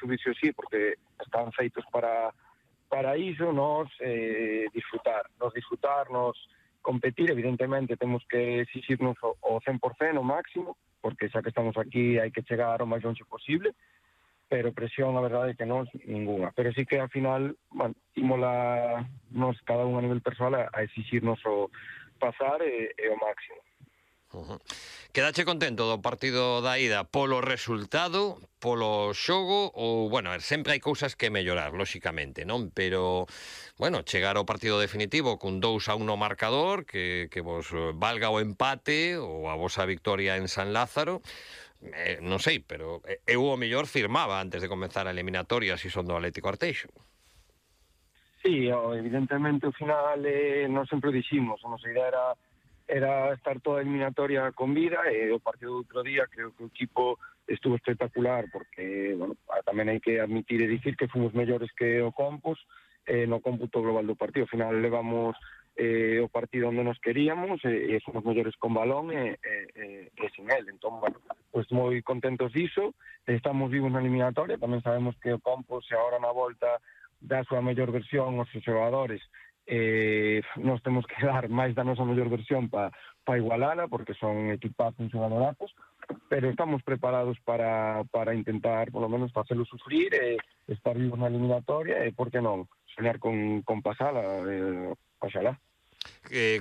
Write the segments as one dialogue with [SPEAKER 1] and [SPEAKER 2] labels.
[SPEAKER 1] subirse así, porque están feitos para iso, nos disfrutar, nos competir. Evidentemente temos que exigirnos o 100% o máximo, porque xa que estamos aquí hai que chegar o máis longe posible, pero presión, a verdade é que non, ninguna. Pero sí que, ao final, bueno, imola nos cada un a nivel persoal a exigirnos o pasar e o máximo.
[SPEAKER 2] Quedache contento do partido da ida polo resultado, polo xogo, ou, bueno, sempre hai cousas que mellorar, lóxicamente, non? Pero, bueno, chegar ao partido definitivo cun 2-1 no marcador, que vos valga o empate ou a vosa victoria en San Lázaro, non sei, pero eu o mellor firmaba antes de comenzar a eliminatoria si son do Atlético Arteixo.
[SPEAKER 1] Sí, evidentemente, ao final, non sempre o diximos, a nosa idea era estar toda a eliminatoria con vida, e o partido do outro día creo que o equipo estuvo espectacular, porque, bueno, tamén hai que admitir e dicir que fomos mellores que o Compos no cómputo global do partido. Ao final levamos o partido onde nos queríamos e fomos mellores con balón e sin el. Entón, bueno, pues moi contentos diso, estamos vivos na eliminatoria, tamén sabemos que o Compos agora na volta da súa mellor versión os xogadores, nos temos que dar máis da nosa mellor versión para igualala, porque son equipazos, xogadorazos, pero estamos preparados para intentar, polo menos, facelo sufrir e estar vivos na eliminatoria e, por que non, soñar con pasala, oxalá.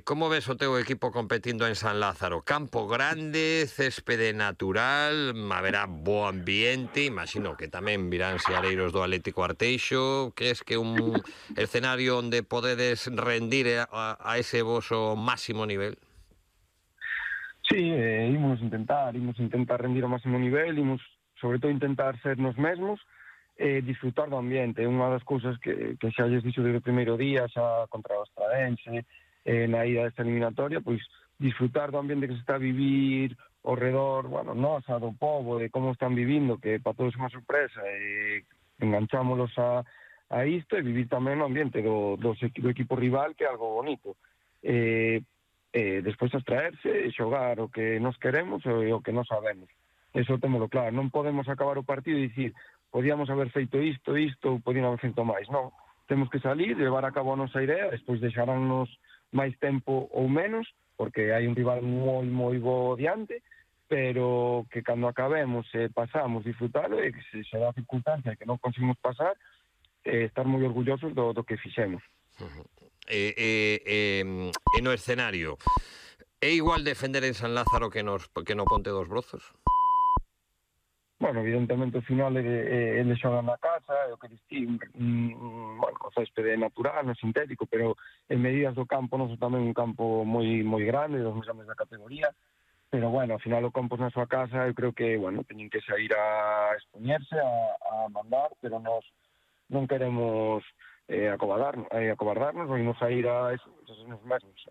[SPEAKER 2] Como ves o teu equipo competindo en San Lázaro? Campo grande, céspede natural, haberá bo ambiente, imagino que tamén virán seareiros do Atlético Arteixo. Crees que un escenario onde podedes rendir a ese voso máximo nivel?
[SPEAKER 1] Sí, imos intentar rendir ao máximo nivel, imos sobre todo intentar ser nos mesmos, disfrutar do ambiente. Unha das cousas que xa lles dixo desde o primeiro día, xa contra o Estradense, na ida desta eliminatoria, pois disfrutar do ambiente que se está a vivir ao redor, bueno, nosa, do povo, de como están vivindo, que para todos é unha sorpresa, e enganchámolos a isto, e vivir tamén o ambiente do equipo rival, que é algo bonito. Despois abstraerse e xogar o que nos queremos e o que nos sabemos. Eso témolo claro. Non podemos acabar o partido e dicir podíamos haber feito isto, ou podíamos haber feito máis. Non. Temos que salir, levar a cabo a nosa idea, despois deixaránnos máis tempo ou menos, porque hai un rival moi bo diante, pero que cando acabemos pasamos, disfrutalo, e que se dá a circunstancia que non conseguimos pasar, estar moi orgullosos do que fixemos.
[SPEAKER 2] E no escenario, é igual defender en San Lázaro que no Ponte dos Brozos?
[SPEAKER 1] Bueno, evidentemente, ao final, eles xogan na casa, é o que distingue, bueno, o céspede natural, non sintético, pero en medidas do campo, non son tamén un campo moi grande, dos máis grandes da categoría, pero, bueno, ao final o campo na súa casa, eu creo que, bueno, teñen que sair a expoñerse, a mandar, pero nós non queremos acobardarnos, ou imos a ir a esos mesmos.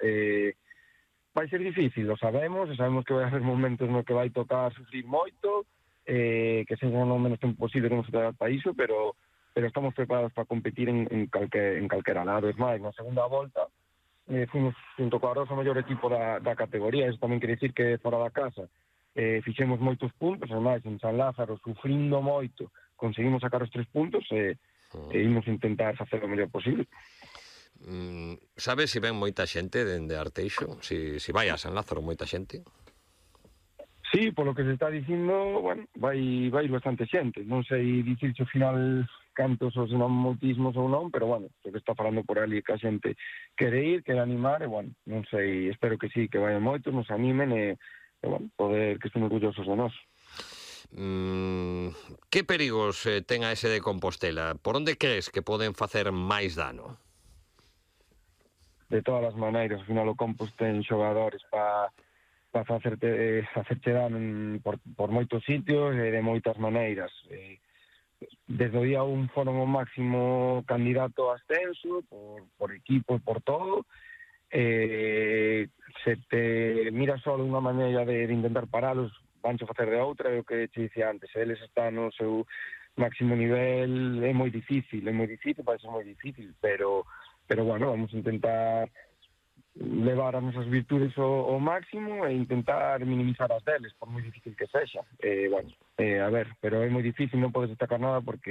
[SPEAKER 1] Vai ser difícil, lo sabemos, e sabemos que vai haber momentos no que vai tocar sufrir moito, que sexa no menos tempo posible que nos trata para iso, pero estamos preparados para competir en calquera lado. Es máis, na segunda volta fuimos junto coa Rosa o mellor equipo da categoría. Eso tamén quere dicir que fora da casa fixemos moitos puntos, ademais en San Lázaro, sufrindo moito, conseguimos sacar os 3 puntos e imos intentar facer o mellor posible.
[SPEAKER 2] Sabes se ven moita xente dende Arteixo? Se vai a San Lázaro moita xente?
[SPEAKER 1] Sí, polo que se está dicindo, bueno, vai ir bastante xente. Non sei dicirse ao final cantos os moitismos ou non, pero, bueno, o que está falando por ali que a xente quere ir, quere animar, e, bueno, non sei, espero que sí, que vayan moitos, nos animen e bueno, poder que estén orgullosos de nós.
[SPEAKER 2] Que perigos ten a ese de Compostela? Por onde crees que poden facer máis dano?
[SPEAKER 1] De todas as maneiras, ao final o Compos ten xogadores para facerche dano por moitos sitios e de moitas maneiras. Desde o día 1 foron o máximo candidato a ascenso, por equipo e por todo. Se te mira só unha maneira de intentar paralos, vancho facer de outra, é o que te dicía antes. Eles están no seu máximo nivel, é moi difícil, vai ser moi difícil, pero bueno, vamos a intentar levar as nosas virtudes ao máximo e intentar minimizar as deles, por moi difícil que sexa. Bueno, a ver, pero é moi difícil, non podes destacar nada porque